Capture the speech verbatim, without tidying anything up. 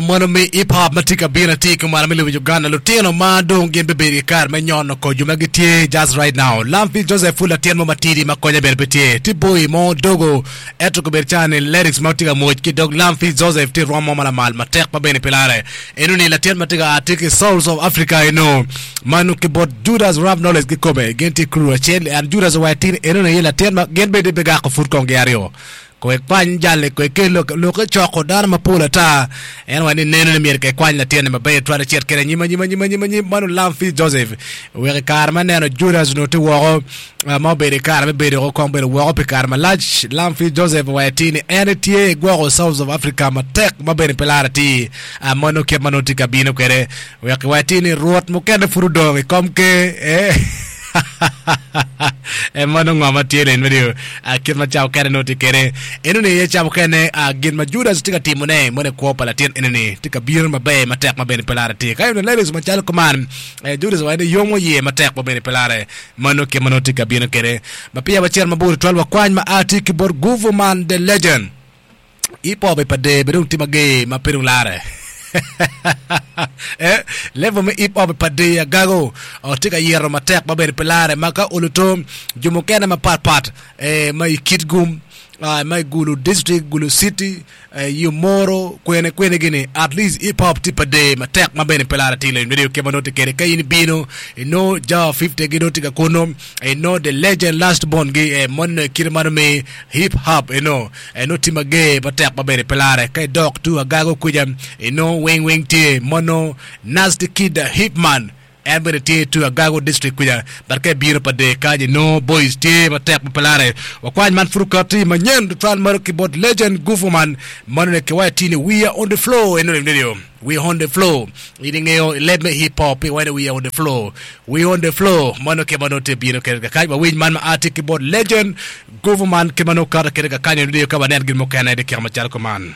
Mono me hip hop ma tye ka bino atir ki mwalo me lobo Uganda lutino ma dong gin bibedo ki kare me nyono ko jo ma gitye just right now. Lampi Joseph pud latin mo matidi ma konye bene pe tye. Tye boy mo dogo ento kobedo calo ni lyrics ma tye ka mwoc ki dog Lampi Joseph tye rwom mo ma lamal matek ma bene pe lare. Eno ni latin ma tye ka a tye ki Souls of Africa eno mano ki bot Judas Rap Knowledge kikome gin tye crew acel and Judas owaco atir ni eno ni aye latin ma gin bene bigako pud kong gi aryo. Ko ekwany jal-li, ko ekel lok, lok ecoko dano mapol ata. En owaco ni neno ni myero kekwany latinni maber twal ecit kwede anyim, anyim, anyim, anyim, anyim. Mano Lamfi Joseph. Wek i kare ma neno Judas onongo tye woko, ah, ma obedo i kare me bedo woko, kong bedo woko pi kare malac, Lamfi Joseph owaco atir ni en etye egwoko South of Africa matek ma bene pe laro atir. Ah, mano kit ma nongo tye ka bino kwede. Wek iwac atir ni Rwot mukene pud odong i kom ker. Eh. En ma nongo ngo ma tye leng medo kit ma ca okene nongo tye kede. Enoni aye ca mukene gin ma Judas tye ka timone mono i kwo pa latin enoni tye ka bino maber matek ma bene pe lare tye. Ka ineno lyrics macalo kuman, Judas owaco ni yomo iye matek ma bene pe lare. Mano kit ma nongo tye ka bino kede. Ma peya wacito mabor tutwal wakwany ma a tye ki bot Guvo Man the Legend. Hip hop i pa der bene dong tye mager ma pe dong lare. Eh, level me hip hop i pa der agago tye ka yito matek ma bene pe lare ma ka olo to jo mukene mapat pat eh, ma i Kitgum, ah, ma i Gulu district, Gulu city, eh, i Omoro, kwene kwene gini at least hip hop tye pa der matek ma bene pe lare atir leng radio kit ma nongo tye kede ka in ibino inongo Jawa fifty gi nongo tye ka kunu inongo the legend last born gi eh, moni nongo kite mano me hip hop eno Eno tye mager matek ma bene pe lare. Ka idok tung agago kuca, inongo weng weng tye mono Nasty Kid Hipman en bene tye tung agago district kuca. But ka ibino pa der kany inongo boys tye matek ma pe lare. Wakwany man pud okati manyen tutwal malo ki bot Legend Gufuman mano ni kiwaco tye ni we are on the floor eno ni radio. We on the floor. In ingeyo i leb me hip hop iwaco ni we are on the floor. We on the floor. Mano kit ma nongo tye bino kwede kakany. Wawiny man ma a tye ki bot Legend Guvo man kit ma nongo okato kwede kakany i radio ka wanen gin mukene i dyekika macalo kuman.